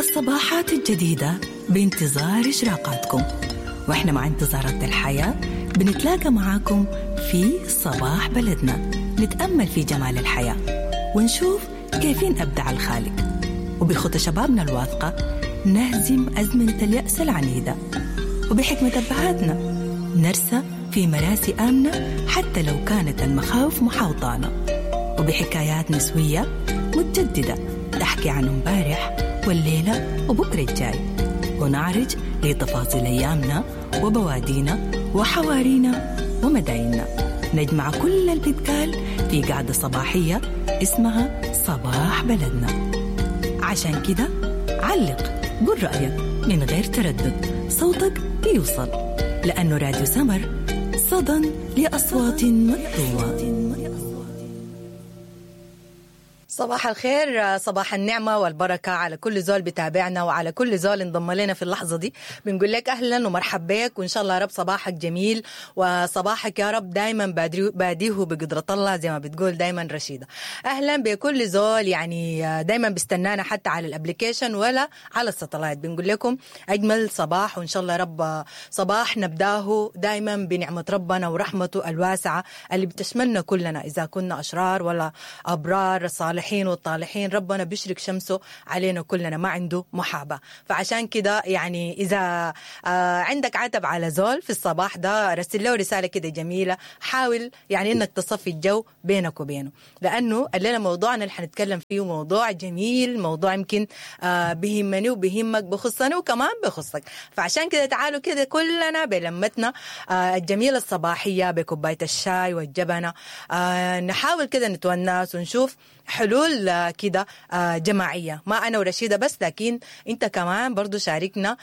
الصباحات الجديدة بانتظار إشراقاتكم، وإحنا مع انتظارات الحياة بنتلاقى معاكم في صباح بلدنا، نتأمل في جمال الحياة ونشوف كيفين أبدع الخالق، وبخطى شبابنا الواثقة نهزم أزمنة اليأس العنيدة، وبحكمة أبهاتنا نرسى في مراسي آمنة حتى لو كانت المخاوف محاوطانا، وبحكايات نسوية متجددة تحكي عن امبارح والليلة وبكرة الجاي، ونعرج لتفاصيل أيامنا وبوادينا وحوارينا ومدايننا. نجمع كل البتقال في قعدة صباحية اسمها صباح بلدنا. عشان كده علق، قل رأيك من غير تردد، صوتك بيوصل، لأنه راديو سمر صدى لأصوات مكتومة. صباح الخير، صباح النعمة والبركة على كل زول بتابعنا وعلى كل زول انضم لنا في اللحظة دي. بنقول لك أهلا ومرحب بك، وإن شاء الله يا رب صباحك جميل، وصباحك يا رب دايما باديه بقدرة الله زي ما بتقول دايما رشيدة. أهلا بكل زول يعني دايما بيستنانا حتى على ال application ولا على ال satellite. بنقول لكم أجمل صباح، وإن شاء الله يا رب صباح نبداه دايما بنعمة ربنا ورحمته الواسعة اللي بتشملنا كلنا، إذا كنا أشرار ولا أبرار، الصالحين والطالحين، ربنا بيشرق شمسه علينا كلنا، ما عنده محابة. فعشان كده يعني إذا عندك عتب على زول في الصباح ده، رسل له رسالة كده جميلة، حاول يعني إنك تصفي الجو بينك وبينه، لأنه الليلة موضوعنا اللي حنتكلم فيه موضوع جميل، موضوع يمكن بهمني وبهمك، بخصني وكمان بخصك. فعشان كده تعالوا كده كلنا بلمتنا الجميلة الصباحية بكوباية الشاي والجبنة، نحاول كده نتونس ونشوف حلول كده جماعية، ما أنا ورشيدة بس، لكن أنت كمان برضو شاركنا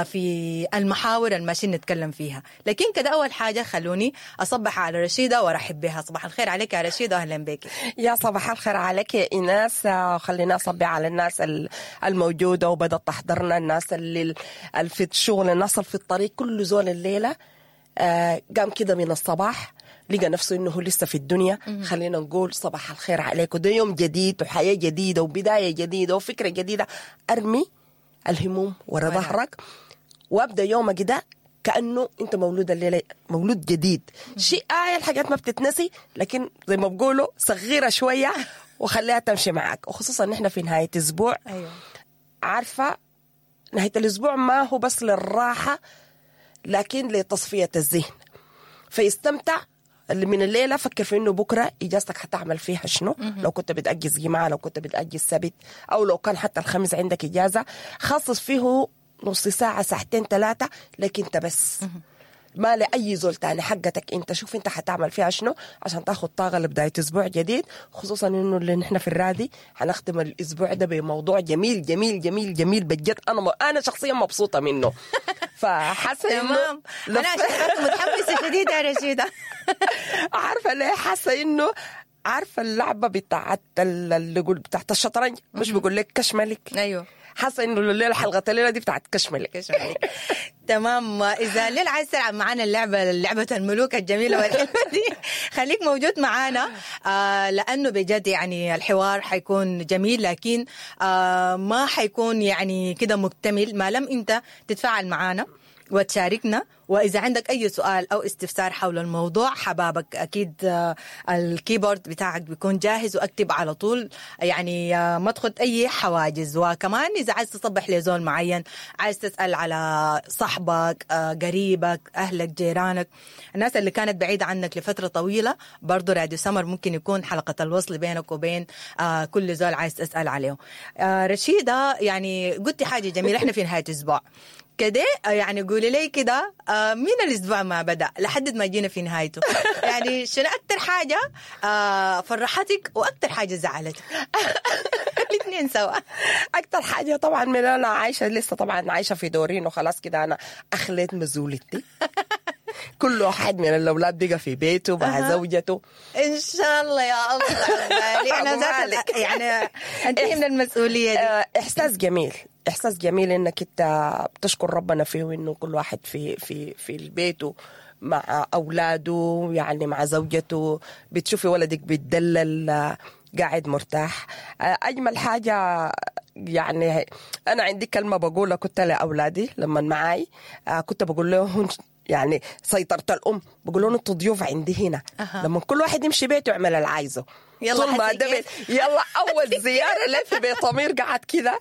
في المحاور الماشيين نتكلم فيها. لكن كده أول حاجة خلوني أصبح على رشيدة وأرحب بها. صباح الخير عليك يا رشيدة، أهلا بك. يا صباح الخير عليك يا إيناس. خلينا أصبح على الناس الموجودة وبدأت تحضرنا، الناس اللي في الشغل، الناس اللي في الطريق، كل زول الليلة قام كده من الصباح لقى نفسه إنه لسه في الدنيا. خلينا نقول صباح الخير عليكم، ده يوم جديد وحياة جديدة وبداية جديدة وفكرة جديدة. أرمي الهموم ورا ظهرك وابدأ يومك ده كأنه أنت مولود الليلة، مولود جديد. شيء الحاجات ما بتتنسي، لكن زي ما بقولوا صغيرة شوية وخليها تمشي معك، وخصوصا نحن في نهاية أسبوع. أيوة. عارفة نهاية الأسبوع ما هو بس للراحة، لكن لتصفية الذهن. فيستمتع اللي من الليلة، فكر في إنه بكرة إجازتك حتعمل فيها شنو. لو كنت بتأجز جمعة، لو كنت بتأجز سبت، أو لو كان حتى الخميس عندك إجازة، خصص فيه نص ساعة، ساعتين، 3، لكن أنت بس، ما لأي زول تاني، حقتك أنت. شوف أنت حتعمل فيها شنو عشان تاخد طاقة لبداية أسبوع جديد، خصوصا إنه اللي نحن في الرادي حنختم الأسبوع ده بموضوع جميل جميل جميل جميل بجد. أنا شخصيا مبسوطة منه. فحاسة إنه أنا عشان متحمسة شديد يا رشيدة. عارفة ليه حاسة إنه عارفة اللعبة بتاعت اللي يقول بتاعت الشطرنج، مش بيقول لك كش ملك؟ أيوه، حاسه انه الليلة حلقة الليلة دي بتاعت كشملك. كشملك. تمام. اذا الليلة عايز تلعب معانا اللعبة، لعبه الملوك الجميلة والحلوه دي، خليك موجود معانا، لانه بجد يعني الحوار حيكون جميل، لكن ما حيكون يعني كده مكتمل ما لم انت تتفاعل معانا وتشاركنا. وإذا عندك أي سؤال أو استفسار حول الموضوع حبابك أكيد ال keyboard بتاعك بيكون جاهز، وأكتب على طول، يعني ما تخد أي حواجز. وكمان إذا عايز تصبح لزول معين، عايز تسأل على صاحبك، قريبك، أهلك، جيرانك، الناس اللي كانت بعيدة عنك لفترة طويلة، برضو راديو سمر ممكن يكون حلقة الوصل بينك وبين كل زول عايز تسأل عليه. رشيدة يعني قلتي حاجة جميلة، إحنا في نهاية أسبوع كده، يعني قولي لي كده من الأسبوع ما بدأ لحد ما جينا في نهايته، يعني شنو أكتر حاجة فرحتك وأكتر حاجة زعلتك؟ الاثنين سوا. أكتر حاجة طبعا من أنا عايشة لسه، طبعا عايشة في دورين وخلاص كده، أنا أخليت مزولتي. كل واحد من الأولاد بقى في بيته مع زوجته. إن شاء الله يا الله. أنا ذات يعني أنتهي من المسؤولية دي. إحساس جميل، إحساس جميل إنك أنت بتشكر ربنا فيه، وإنه كل واحد في في في بيته مع أولاده، يعني مع زوجته، بتشوفي ولدك بيتدلل قاعد مرتاح. أجمل حاجة يعني انا عندي كلمة بقولها كنت لاولادي لما معاي، كنت بقول لهم يعني سيطرة الام، بقول لهم انتوا ضيوف عندي هنا. لما كل واحد يمشي بيته يعمل اللي عايزه. يلا طول ما حسي ده كيف؟ بيت، يلا اول زيارة لي في بيت امير قعد كده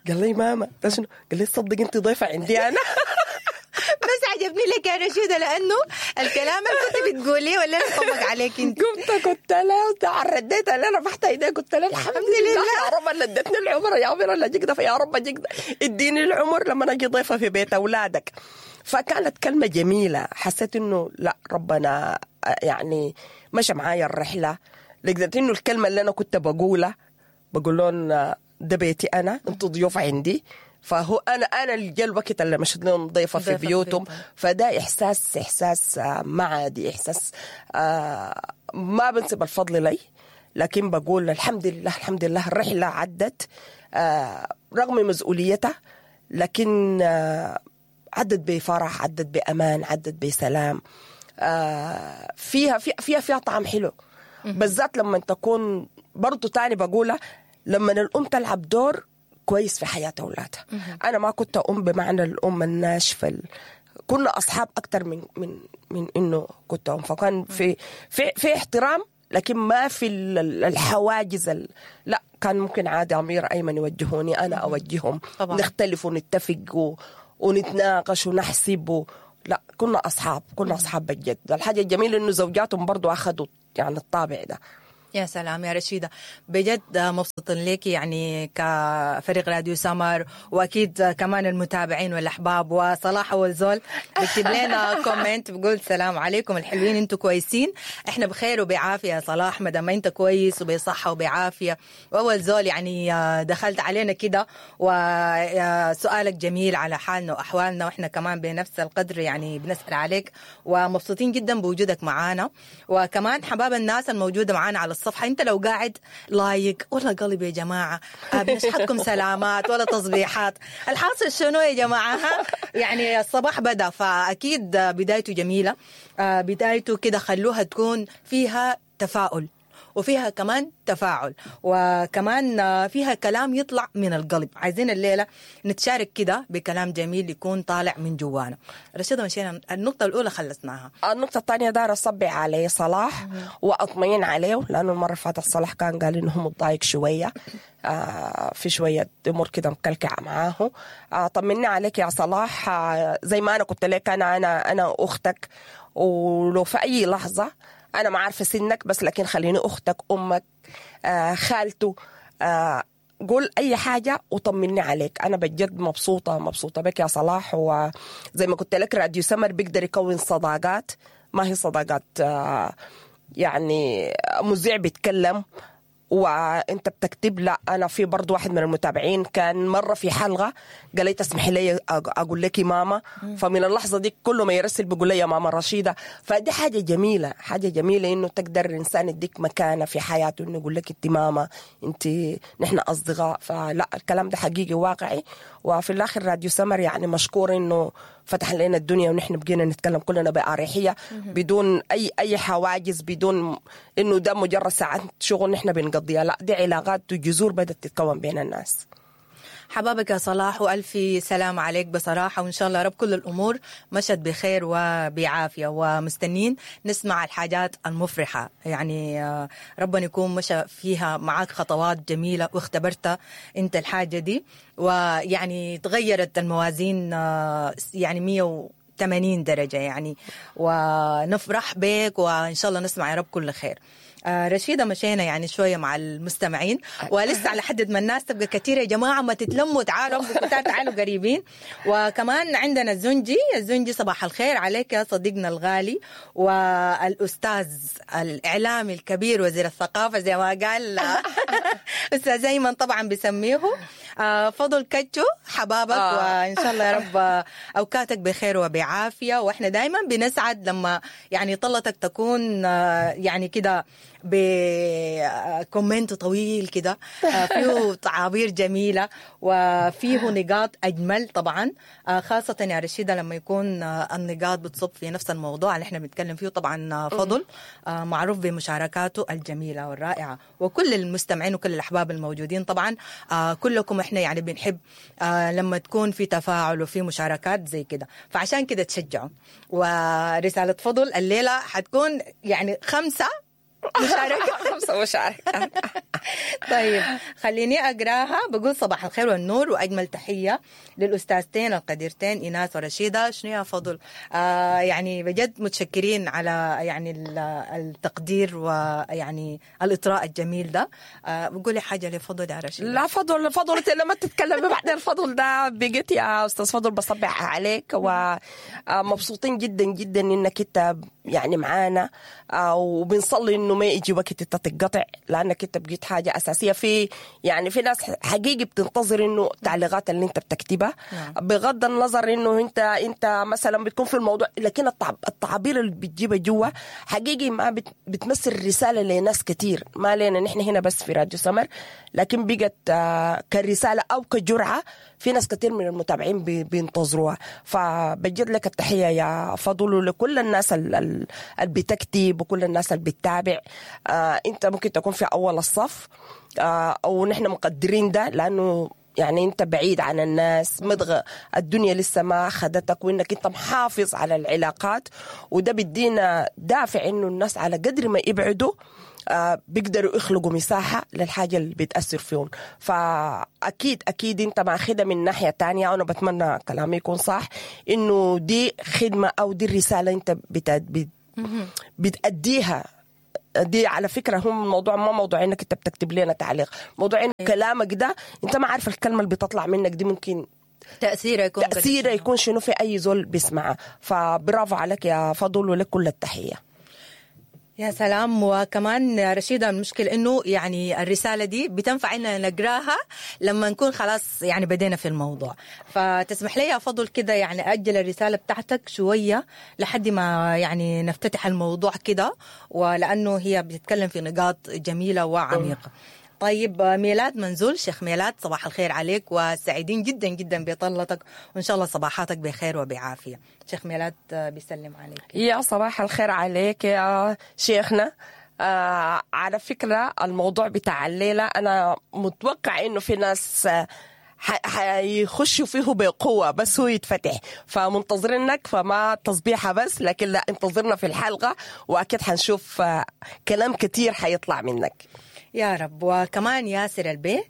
قال لي ماما ده شنو؟ قال لي تصدق انت ضيفه عندي انا. بس عجبني لك يا رشيدة، لأنه الكلام اللي كنت بتقوليه ولا طبق عليك انت. قمت قلت له رديت عليه، رفعت ايدي قلت له الحمد لله يا رب اللي ادتني العمر، يا امير اللي اجيك ده، يا رب اجيك ده، اديني العمر لما اجي ضيفه في بيت اولادك. فكانت كلمة جميلة، حسيت انه لا ربنا يعني مشى معايا الرحلة، لقيت انه الكلمة اللي انا كنت بقولها بقول لهم ده بيتي انا، انتوا ضيوف عندي. فهو انا اللي جا الوقت اللي مشيت لهم ضيفه في ضيفة في بيوتهم. بيتهم. فده احساس ما عادي، احساس ما بنسب الفضل لي، لكن بقول الحمد لله الحمد لله الرحلة عدت رغم مسؤوليتها، لكن عدت بفرح، عدت بامان، عدت بسلام، فيها فيها فيها طعم حلو، بالذات لما تكون برضو تاني بقولها لما الأم تلعب دور كويس في حياة أولادها. أنا ما كنت أم بمعنى الأم الناشفة، كنا أصحاب أكتر من من من إنه كنت أم، فكان في في في احترام، لكن ما في الحواجز لا كان ممكن عادي أمير أيمن يوجهوني أنا أوجههم طبعا. نختلف ونتفق ونتناقش ونحسب لا كنا أصحاب، كنا أصحاب بجد. الحاجة الجميلة إنه زوجاتهم برضو أخذوا يعني الطابع ده. يا سلام يا رشيدة، بجد مبسوطين لك يعني كفريق راديو سمر، وأكيد كمان المتابعين والأحباب. وصلاح أول زول بكتب لنا comment بقول سلام عليكم الحلوين، انتوا كويسين؟ احنا بخير وبعافية يا صلاح، ما دام انت كويس وبصحة وبعافية. وأول زول يعني دخلت علينا كده وسؤالك جميل على حالنا وأحوالنا، وإحنا كمان بنفس القدر يعني بنسأل عليك ومبسوطين جدا بوجودك معانا. وكمان حباب الناس الموجودة معانا على الصفحة، انت لو قاعد like ولا قلب يا جماعة، بنشحتكم سلامات ولا تصبيحات، الحاصل شنو يا جماعة؟ ها؟ يعني الصباح بدأ، فأكيد بدايته جميلة، بدايته كده خلوها تكون فيها تفاؤل وفيها كمان تفاعل، وكمان فيها كلام يطلع من القلب. عايزين الليلة نتشارك كده بكلام جميل يكون طالع من جوانا. رشيدة مشينا النقطة الأولى خلصناها. النقطة الثانية دار أصبع عليه صلاح وأطمئن عليه، لأنه المرة اللي فاتت صلاح كان قال إنه هو متضايق شوية، في شوية أمور كده مكلكعة معاه. طمني عليك يا صلاح، زي ما أنا قلت لك أنا أنا أنا أختك، ولو في أي لحظة أنا ما عارفة سنك، بس لكن خليني أختك، أمك، خالته، قول أي حاجة وطمني عليك. أنا بجد مبسوطة مبسوطة بك يا صلاح. وزي ما قلت لك راديو سمر بيقدر يكون صداقات، ما هي صداقات يعني مذيع بيتكلم وانت بتكتب، لا انا في برضو واحد من المتابعين كان مرة في حلقة قال لي تسمحي لي اقول لك ماما، فمن اللحظة دي كل ما يرسل بيقول لي يا ماما رشيده. فدي حاجة جميلة، حاجة جميلة انه تقدر الانسان يديك مكانه في حياته، انه يقول لك انت ماما، انت نحن اصدقاء. فلا الكلام ده حقيقي واقعي. وفي الاخر راديو سمر يعني مشكور انه فتح لنا الدنيا ونحن بقينا نتكلم كلنا بأريحية بدون أي حواجز، بدون إنه ده مجرد ساعات شغل نحن بنقضيها، لا دي علاقات وجذور بدأت تتكون بين الناس. حبابك يا صلاح، وألف سلام عليك بصراحة، وإن شاء الله رب كل الأمور مشت بخير وبعافية، ومستنين نسمع الحاجات المفرحة. يعني ربنا يكون مشى فيها معاك خطوات جميلة واختبرتها أنت الحاجة دي، ويعني تغيرت الموازين يعني 180 درجة يعني، ونفرح بك وإن شاء الله نسمع يا رب كل خير. رشيدة مشينا يعني شوية مع المستمعين، ولسه على حد ما الناس تبقى كثيرة يا جماعة، ما تتلموا، تعالوا تعالوا قريبين. وكمان عندنا الزنجي، الزنجي صباح الخير عليك يا صديقنا الغالي والأستاذ الإعلامي الكبير وزير الثقافة زي ما قال أستاذ أيمن طبعا بيسميه، فضل كتشو حبابك. وإن شاء الله يا رب أوقاتك بخير وبعافية، وإحنا دايما بنسعد لما يعني طلتك تكون يعني كده ب comment طويل كده، فيه تعابير جميلة وفيه نقاط اجمل طبعا، خاصة يا رشيده لما يكون النقاط بتصب في نفس الموضوع اللي احنا بنتكلم فيه. طبعا فضل معروف بمشاركاته الجميلة والرائعه، وكل المستمعين وكل الاحباب الموجودين طبعا، كلكم احنا يعني بنحب لما تكون في تفاعل وفي مشاركات زي كده، فعشان كده تشجعوا. ورسالة فضل الليلة حتكون يعني 5 مشاركة 5 مشاركات. طيب خليني أقراها. بقول صباح الخير والنور وأجمل تحية للأستاذتين القديرتين إيناس ورشيدة. شنو يا فضل؟ يعني بجد متشكرين على يعني التقدير ويعني الإطراء الجميل ده. بقولي حاجة لفضل يا رشيدة. لا فضل، فضل لما تتكلمي بعدين الفضل ده بقيت يا أستاذ فضل بصبح عليك، ومبسوطين جدا جدا إنك أنت يعني معانا، وبنصلي إنه ما يجي وقت انت تتقطع، لانك انت بقيت حاجة اساسية في يعني في ناس حقيقي بتنتظر انه التعليقات اللي انت بتكتبها. بغض النظر انه انت مثلا بتكون في الموضوع، لكن التعابير اللي بتجيبها جوا حقيقي ما بتمثل رسالة لناس كتير، ما لنا نحن هنا بس في راديو سمر، لكن بقت كرسالة او كجرعه في ناس كتير من المتابعين بينتظروها. فبجد لك التحية يا فضل ولكل الناس اللي بتكتب وكل الناس اللي بتتابع. انت ممكن تكون في اول الصف، او نحن مقدرين ده، لانه يعني انت بعيد عن الناس، مضغ الدنيا لسه ما خدتك، وانك انت محافظ على العلاقات، وده بيدينا دافع انه الناس على قدر ما يبعدوا بيقدروا يخلقوا مساحة للحاجة اللي بتأثر فيهم. فأكيد أكيد أنت ماخدها من ناحية تانية، وأنا بتمنى كلامي يكون صح، إنه دي خدمة أو دي الرسالة أنت بتأديها. دي على فكرة هم الموضوع ما موضوع إنك أنت بتكتب لنا تعليق، موضوع إنه كلامك ده أنت ما عارف الكلمة اللي بتطلع منك دي ممكن تأثيره يكون شنو في أي زول بيسمعها. فبرافو عليك يا فضل، ولك كل التحية. يا سلام. وكمان رشيدة المشكلة إنه يعني الرسالة دي بتنفع إننا نقراها لما نكون خلاص يعني بدينا في الموضوع، فتسمح لي يا فضل كده يعني أجل الرسالة بتاعتك شوية لحد ما يعني نفتتح الموضوع كده، ولأنه هي بتتكلم في نقاط جميلة وعميقة. طيب ميلاد منزول، شيخ ميلاد صباح الخير عليك، وسعيدين جدا جدا بطلتك، وإن شاء الله صباحاتك بخير وبعافية. شيخ ميلاد بيسلم عليك. يا صباح الخير عليك يا شيخنا. على فكرة الموضوع بتاع الليلة أنا متوقع إنه في ناس حيخشوا فيه بقوة، بس هو يتفتح، فمنتظرينك، فما تصبيحة بس، لكن لا انتظرنا في الحلقة، وأكيد حنشوف كلام كتير حيطلع منك يا رب. وكمان ياسر البيه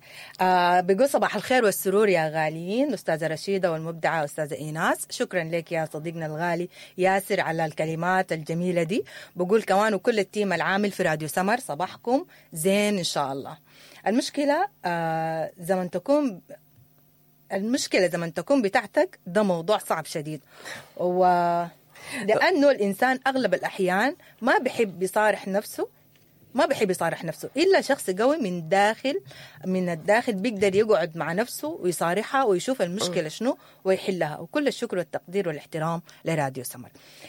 بيقول صباح الخير والسرور يا غاليين، أستاذة رشيدة والمبدعة أستاذة إيناس. شكرا لك يا صديقنا الغالي ياسر على الكلمات الجميلة دي. بقول كمان وكل ال team العامل في راديو سمر صباحكم زين إن شاء الله. المشكلة زمن تكون المشكلة زمن تكون بتاعتك ده موضوع صعب شديد، ولأنه الإنسان أغلب الأحيان ما بحب يصارح نفسه، ما بحب يصارح نفسه إلا شخص قوي من داخل، من الداخل بيقدر يقعد مع نفسه ويصارحها ويشوف المشكلة شنو ويحلها. وكل الشكر والتقدير والاحترام لراديو سمر.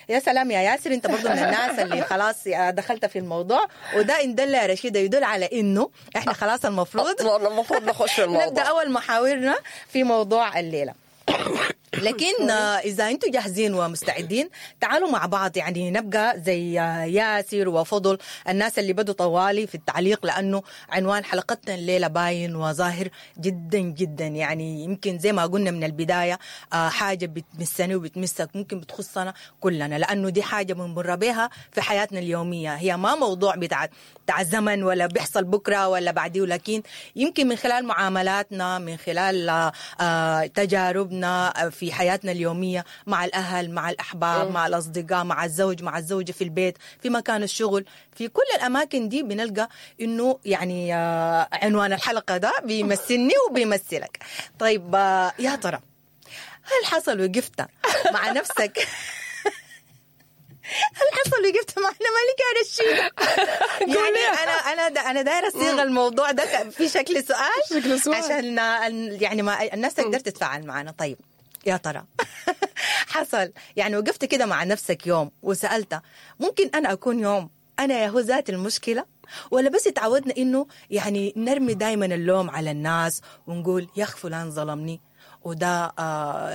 يا سلام يا ياسر، انت برضو من الناس اللي خلاص دخلت في الموضوع، وده إن دل يا رشيدة يدل على إنه إحنا خلاص المفروض نخش في الموضوع، نبدأ أول محاورنا في موضوع الليلة. لكن إذا أنتم جاهزين ومستعدين تعالوا مع بعض، يعني نبقى زي ياسر وفضل الناس اللي بدوا طوالي في التعليق، لأنه عنوان حلقتنا الليلة باين وظاهر جدا جدا. يعني يمكن زي ما قلنا من البداية حاجة بتمسني وبتمسك، ممكن بتخصنا كلنا، لأنه دي حاجة بنمر بها في حياتنا اليومية. هي ما موضوع بتاع زمن ولا بيحصل بكرة ولا بعديه، لكن يمكن من خلال معاملاتنا، من خلال تجاربنا في حياتنا اليومية مع الأهل، مع الأحباب، مع الأصدقاء، مع الزوج، مع الزوجة، في البيت، في مكان الشغل، في كل الأماكن دي بنلقى إنه يعني عنوان الحلقة ده بيمثلني وبيمثلك. طيب يا ترى هل حصل وقفت مع نفسك؟ هل حصل وقفت معنا مالك يا رشيدة؟ يعني انا دايرة اصيغ الموضوع ده في شكل سؤال، عشان يعني ما الناس تقدر تتفاعل معنا. طيب يا ترى حصل يعني وقفت كده مع نفسك يوم وسألت ممكن أنا أكون يوم أنا يا هو ذات المشكلة؟ ولا بس اتعودنا انه يعني نرمي دائما اللوم على الناس ونقول يا اخ فلان ظلمني، وده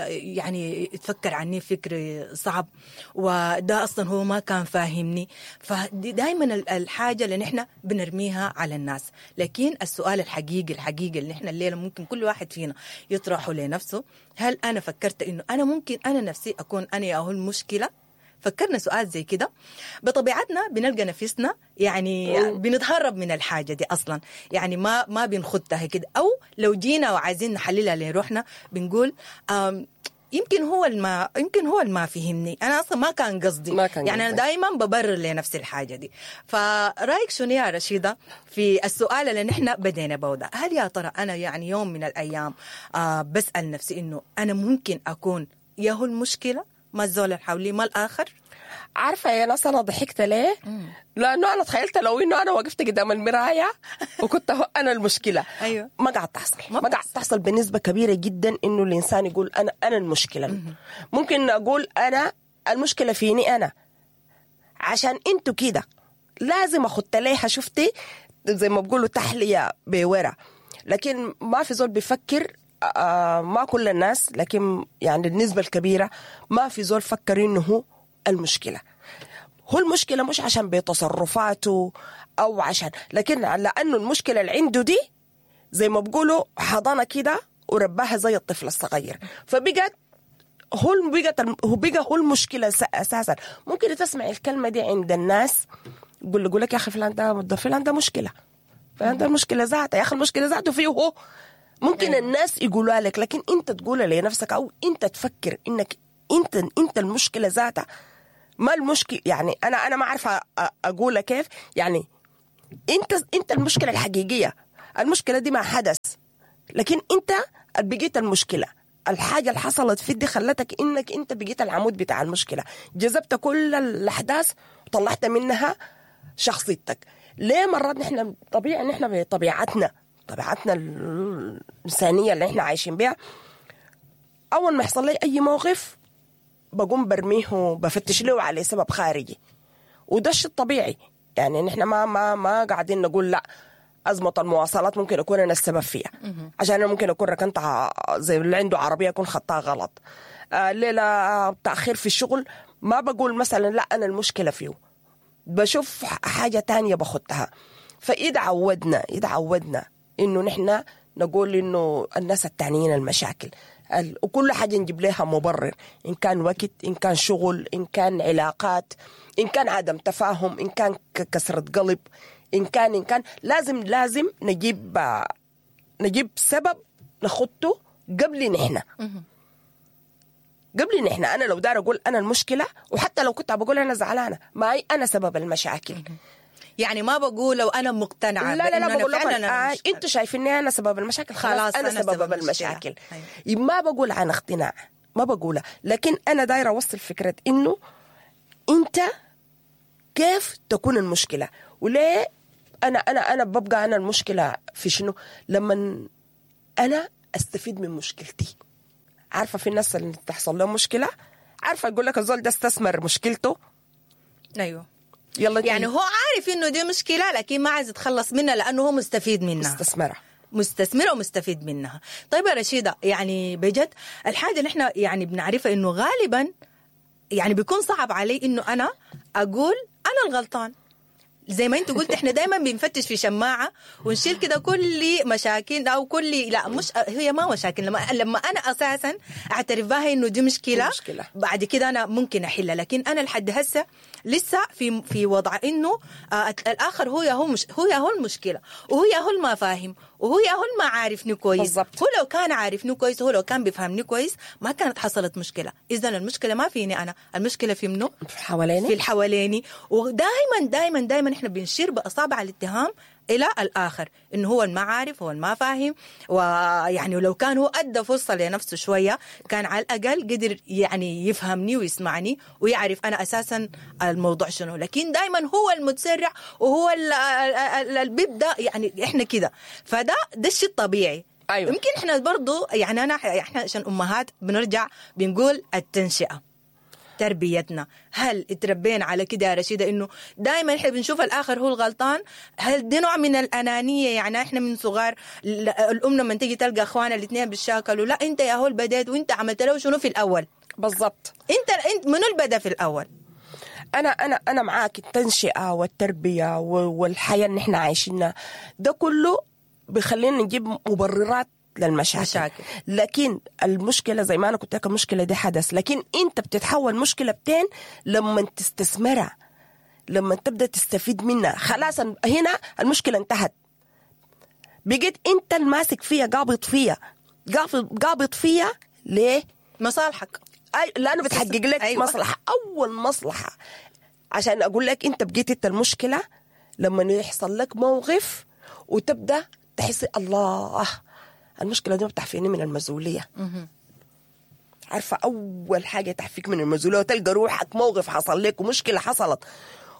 يعني تفكر عني فكر صعب، وده اصلا هو ما كان فاهمني. فدي دائما الحاجة اللي نحن بنرميها على الناس. لكن السؤال الحقيقي الحقيقي اللي نحن الليلة ممكن كل واحد فينا يطرحه لنفسه، هل انا فكرت انه انا ممكن انا نفسي اكون انا يا هو المشكلة؟ فكرنا سؤال زي كده؟ بطبيعتنا بنلقى نفسنا يعني بنتهرب من الحاجة دي أصلا، يعني ما بنخدها كده، أو لو جينا وعايزين نحللها لروحنا بنقول يمكن هو الما فهمني، أنا أصلا ما كان قصدي، ما كان يعني أنا دايما ببرر لنفسي الحاجة دي. فرأيك شنو يا رشيدة في السؤال اللي نحن بدينا به ده؟ هل يا ترى أنا يعني يوم من الأيام بسأل نفسي إنه أنا ممكن أكون يا هو المشكلة، ما الزول اللي حولي، ما الآخر؟ عارفة يا ناس أنا ضحكت ليه؟ لأنه أنا تخيلت لو إنه أنا وقفت قدام المراية وكنت هو أنا المشكلة. أيوة. ما قاعد تحصل، ما قاعد تحصل بنسبة كبيرة جدا إنه الإنسان يقول أنا المشكلة. ممكن أقول أنا المشكلة فيني أنا، عشان أنتوا كده لازم أخد ليها، شفتي زي ما بقولوا تحلية بورا. لكن ما في زول بيفكر، ما كل الناس، لكن يعني النسبة الكبيرة ما في زول فكر إنه هو المشكلة. هو المشكلة مش عشان بتصرفاته أو عشان، لكن لأنه المشكلة اللي عنده دي زي ما بقولوا حضانة كده ورباها زي الطفل الصغير، فبقت هو بقى هو المشكلة أساسا. ممكن تسمع الكلمة دي عند الناس، يقول لك يا أخي فلان ده، فلان ده مشكلة، فلان ده المشكلة ذاته، يا أخي المشكلة ذاته فيه هو. ممكن الناس يقولوا لك، لكن انت تقولها لنفسك او انت تفكر انك انت المشكلة ذاتها. ما المشكلة يعني انا ما عارفه اقولها كيف، يعني انت المشكلة الحقيقية. المشكلة دي ما حدث، لكن انت بقيت المشكلة. الحاجة اللي حصلت في دي خلتك انك انت بقيت العمود بتاع المشكلة، جذبت كل الاحداث وطلعت منها شخصيتك. ليه مرات نحن طبيعي، نحن بطبيعتنا، طبيعتنا الإنسانية اللي احنا عايشين بيها، أول ما يحصل لي أي موقف بقوم برميه، بفتش له على سبب خارجي، وده الشيء الطبيعي. يعني نحن ما قاعدين نقول لا أزمة المواصلات ممكن أكون أنا السبب فيها، عشان أنا ممكن أكون ركنت زي اللي عنده عربية أكون خطاها غلط. ليلة تأخير في الشغل ما بقول مثلا لا أنا المشكلة فيه، بشوف حاجة تانية بخدها. فإذا عودنا إنه نحن نقول إنه الناس التانيين المشاكل، وكل حاجة نجيب لها مبرر، إن كان وقت، إن كان شغل، إن كان علاقات، إن كان عدم تفاهم، إن كان كسرة قلب، إن كان لازم نجيب سبب نخطه قبل نحن. قبل نحن أنا لو دار أقول أنا المشكلة، وحتى لو كنت بقول أنا زعلانة، ما هي أنا سبب المشاكل. يعني ما بقول لو أنا مقتنعة. لا لا لا، بقول لكم أنتوا شايفيني أنا سبب المشاكل، خلاص أنا سبب المشاكل. أيوة. ما بقول عن اقتناع، ما بقولها، لكن أنا دايرة أوصل فكرة إنه أنت كيف تكون المشكلة، وليه أنا أنا أنا ببقى أنا المشكلة في شنو لما أنا أستفيد من مشكلتي. عارفة في الناس اللي تحصل لهم مشكلة، عارفة يقول لك الزول ده استثمر مشكلته. أيوه، يلا يعني هو عارف إنه دي مشكلة لكن ما عايز يتخلص منها لأنه هو مستفيد منها، مستثمرة ومستفيد منها. طيب يا رشيدة، يعني بجد الحاجة اللي احنا يعني بنعرفها إنه غالبا يعني بيكون صعب علي إنه أنا أقول أنا الغلطان. زي ما انت قلت احنا دايما بنفتش في شماعة ونشيل كده كل مشاكل او كل، لا مش هي ما مشاكل، لما انا اساسا اعترف بها انه دي مشكلة. بعد كده انا ممكن احلها، لكن انا لحد هسه لسه في وضع انه الاخر هو يا هو مش هو يا هو المشكلة، وهو يا هو ما فاهم، وهو يا هو ما عارفني كويس. بالزبط. هو لو كان عارفني كويس، هو لو كان بيفهمني كويس ما كانت حصلت مشكلة. اذا المشكلة ما فيني انا، المشكلة في منو؟ في حواليني، في الحواليني. ودائما دائما دائما احنا بنشير باصابع الاتهام الى الاخر انه هو ما عارف، هو ما فاهم، ويعني لو كان هو ادى فرصة لنفسه شوية كان على الاقل قدر يعني يفهمني ويسمعني ويعرف انا اساسا الموضوع شنو. لكن دائما هو المتسرع وهو اللي بيبدا، يعني احنا كده، فده ده الشيء الطبيعي. أيوة. يمكن احنا برضو يعني احنا عشان امهات بنرجع بنقول التنشئه. تربيتنا. هل اتربينا على كده يا رشيده انه دائما احنا بنشوف الاخر هو الغلطان؟ هل دي نوع من الانانية؟ يعني احنا من صغار الام لما تيجي تلقى اخوانها الاثنين بيتشاكلوا، لا انت يا هو البديت وانت عملت له شنو في الاول؟ بالضبط. انت منو اللي بدا في الاول؟ انا انا انا معاك. التنشئه والتربية والحياة اللي احنا عايشينها ده كله بيخلينا نجيب مبررات للمشاكل. مشاكل. لكن المشكلة زي ما انا كنت لك، المشكلة دي حدث، لكن انت بتتحول مشكلة بتين لما تستثمرها، لما تبدا تستفيد منها. خلاص هنا المشكلة انتهت، بقيت انت الماسك فيها، قابض فيها، قابض فيها ليه؟ مصالحك. أي لانه بتحقق لك. أيوة. مصلحة، اول مصلحة. عشان اقول لك انت بقيت انت المشكلة لما يحصل لك موقف وتبدا تحس الله المشكلة دي ما بتعفيني من المسؤولية. عارفه اول حاجة تعفيك من المسؤولية وتلقى روحك موقف حصل لك ومشكلة حصلت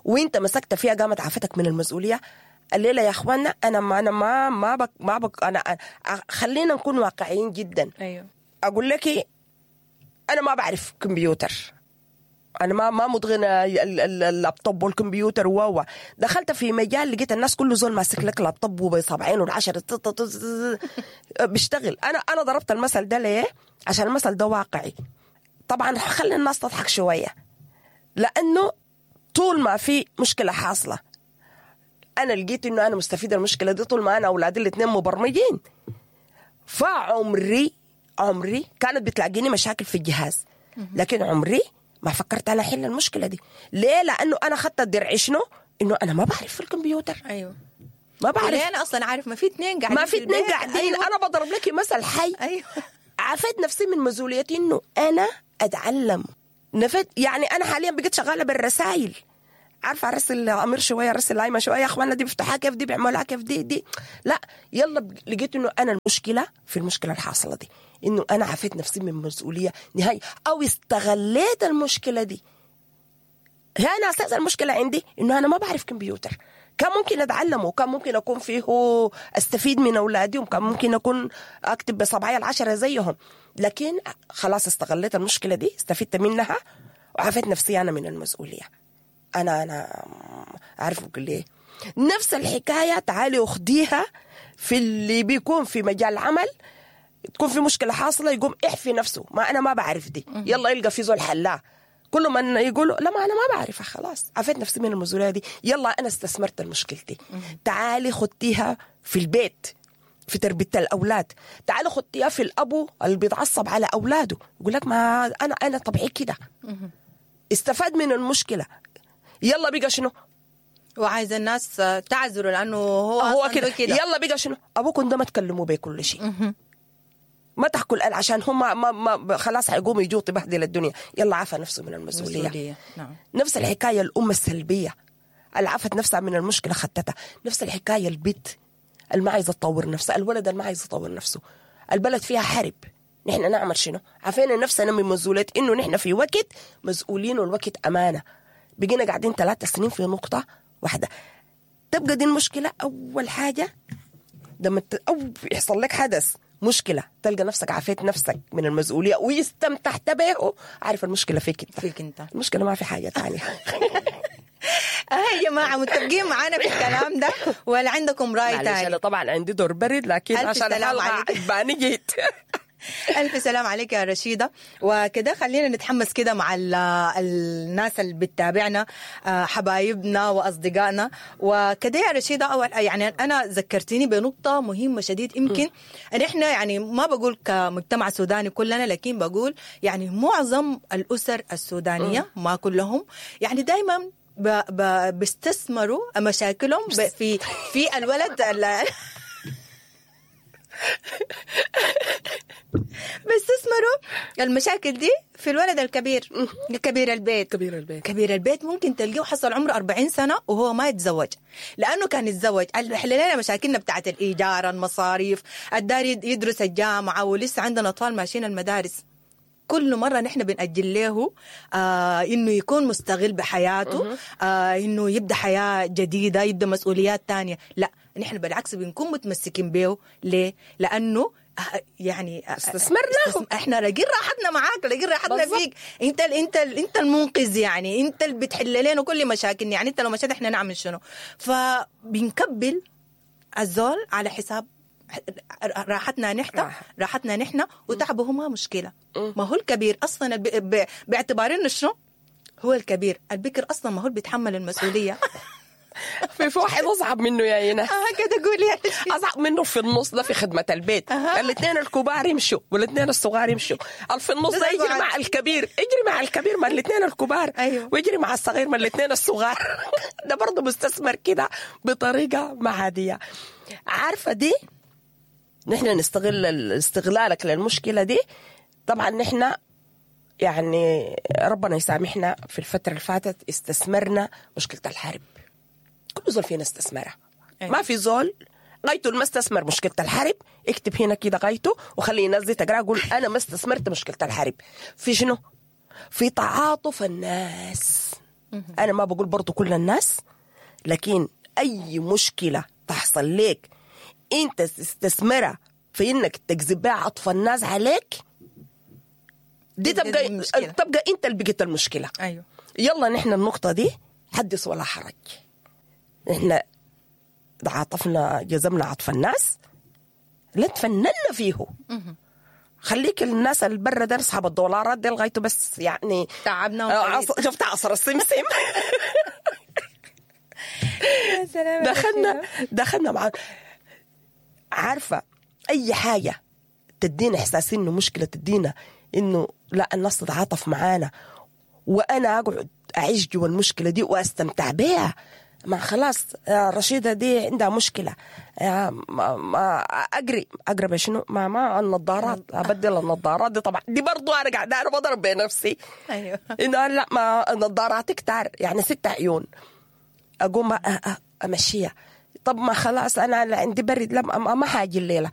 وانت مسكت فيها قامت عفتك من المسؤولية. الليلة يا اخوانا انا ما انا ما ما بك ما بك انا خلينا نكون واقعيين جدا. ايوه. اقول لك انا ما بعرف كمبيوتر، انا ما متقنة اللابتوب والكمبيوتر و دخلت في مجال لقيت الناس كله زول ماسك لك لابتوب وبصبعين والعشرة بيشتغل. انا ضربت المثل ده ليه؟ عشان المثل ده واقعي. طبعا خلي الناس تضحك شوية، لانه طول ما في مشكلة حاصله انا لقيت انه انا مستفيدة المشكلة دي طول ما انا اولادي الاثنين مبرمجين. فعمري كانت بتلاقيني مشاكل في الجهاز، لكن عمري ما فكرت انا احل المشكلة دي. ليه؟ لانه انا خدت الدرع شنو؟ انه انا ما بعرف في الكمبيوتر. ايوه. ما بعرف. ليه انا اصلا عارف؟ ما في اثنين قاعدين. ما في اثنين قاعدين. أيوة. انا بضرب لك مثل حي. ايوه. عافيت نفسي من مسؤوليتي انه انا اتعلم. نفت يعني انا حاليا بقيت شغالة بالرسائل، عارفه ارسل امير شوية، ارسل لايمه شوية، يا اخوانا دي بيفتحها كيف، دي بيعملوها كيف، دي لا يلا. لقيت انه انا المشكلة في المشكلة الحاصلة دي انه انا عافيت نفسي من مسؤولية نهائي، او استغليت المشكلة دي. هنا اساس المشكلة عندي انه انا ما بعرف كمبيوتر. كان ممكن اتعلمه، وكان ممكن اكون فيه استفيد من اولادي، وكان ممكن اكون اكتب بصبعي العشرة زيهم، لكن خلاص استغليت المشكلة دي، استفدت منها وعافيت نفسي انا من المسؤولية. انا عارف اقول ليه. نفس الحكاية تعالي اخديها في اللي بيكون في مجال عمل، تكون في مشكلة حاصله يقوم احفي نفسه، ما انا ما بعرف دي، يلا يلقى في زول حلاه. كل ما يقولوا لا ما انا ما بعرفها، خلاص عفيت نفسي من المسؤولية دي، يلا انا استثمرت المشكلتي. تعالي خدتيها في البيت في تربيه الاولاد، تعالي خدتيها في الابو اللي بيتعصب على اولاده يقول لك ما انا طبيعي كده، استفاد من المشكلة، يلا بقى شنو؟ وعايز الناس تعذره لانه هو كده. يلا بقى شنو؟ ابوكم ده ما تكلموا بيه كل شيء، ما تحكوا الآن عشان هم ما خلاص حيقوموا يجوا تبهدل الدنيا. يلا عفى نفسه من المسؤولية. نعم. نفس الحكاية الأم السلبية اللي عفت نفسها من المشكلة خدتها. نفس الحكاية البيت اللي ما عايزة تطور نفسه، الولد اللي ما عايز يطور نفسه، البلد فيها حرب، نحن نعمل شنو؟ عفينا نفسنا من مسؤولية إنه نحن في وقت مسؤولين والوقت أمانة. بقينا قاعدين 3 سنين في نقطة واحدة. تبقى دي المشكلة. أول حاجة لما أو يحصل لك حدث مشكلة تلقى نفسك عافيت نفسك من المسؤولية ويستمتعت به، عارف المشكلة فيك انت، فيك انت المشكلة ما في حاجة ثانية. يا جماعة متفقين معانا في الكلام ده ولا عندكم رأي ثاني؟ أنا طبعا عندي دور برد، لكن عشان الحلقة عجباني جيت. ألف سلام عليك يا رشيدة. وكده خلينا نتحمس كده مع الناس اللي بتتابعنا، حبايبنا وأصدقائنا وكده. يا رشيدة أول يعني أنا ذكرتيني بنقطة مهمة شديد، يمكن نحن يعني ما بقول كمجتمع سوداني كلنا، لكن بقول يعني معظم الأسر السودانية ما كلهم يعني دايما بيستثمروا مشاكلهم في الولد بيستثمروا المشاكل دي في الولد الكبير، كبير البيت. كبير البيت ممكن تلقيه حصل عمره 40 سنة وهو ما يتزوج، لأنه كان يتزوج حل لنا مشاكلنا بتاعت الإيجار، المصاريف، الدار، يدرس الجامعة، ولسه عندنا أطفال ماشيين المدارس. كل مرة نحن بنأجل له إنه يكون مستغل بحياته، إنه يبدأ حياة جديدة، يبدأ مسؤوليات تانية. لا، نحن بالعكس بنكون متمسكين به. ليه؟ لأنه يعني استثمرناه. احنا لاقين راحتنا معاك، لاقين راحتنا بالضبط. فيك، انت ال انت ال انت المنقذ، يعني انت اللي بتحل لنا كل مشاكلنا، يعني انت لو مشيت احنا نعمل شنو؟ فبنكبل الزول على حساب راحتنا نحن، راحة. راحتنا نحن وتعبه ما مشكلة. ما هو الكبير اصلا باعتبار انه شنو هو الكبير، البكر اصلا ما هو اللي بيتحمل المسؤولية. في واحد اصعب منه يا ايناس. كده قولي يا شيخ. اصعب منه في النص ده في خدمة البيت. الاثنين الكبار يمشوا والاثنين الصغار يمشوا، في النص ده يجري مع الكبير، يجري مع الكبير مع الاثنين الكبار. أيوه. ويجري مع الصغير مع الاثنين الصغار. ده برضه مستثمر كده بطريقة ما عادية. عارفه دي نحن نستغل استغلالك للمشكلة دي. طبعا نحن يعني ربنا يسامحنا، في الفترة اللي فاتت استثمرنا مشكلة الحرب، كل زول فينا استثمرها. أيوة. ما في زول غايته ما استثمر مشكلة الحرب. اكتب هنا كده غايته وخلي الناس دي تقرا، قول انا ما استثمرت مشكلة الحرب في شنو؟ في تعاطف الناس. انا ما بقول برضو كل الناس، لكن اي مشكلة تحصل لك انت تستثمرها في انك تجذب بها عطف الناس عليك، دي تبقى المشكلة. تبقى انت اللي بقيت المشكلة. ايوه. يلا نحن النقطة دي حدث ولا حرج. نحن عاطفنا، جزمنا عطف الناس، لا تفننا فيه. خليك الناس اللي برا ده اصحاب الدولارات دي لغايته بس يعني تعبنا. شفت عصر السمسم. دخلنا مع عارفة أي حاجة تدينا إحساس إنه مشكلة، تدينا إنه لا الناس تتعاطف معانا، وأنا أقعد أعيش جوا المشكلة دي وأستمتع بيها. ما خلاص رشيدة دي عندها مشكلة، ما أقري أقرب شنو، ما النظارات، أبدل النظارات دي. طبعا دي برضو أنا قاعدة أنا بضرب بنفسي. أيوه. إنه لا ما النظارات كتار يعني 6 عيون، أقوم أمشيها. طب ما خلاص أنا عندي برد، لا ما حاجي الليلة.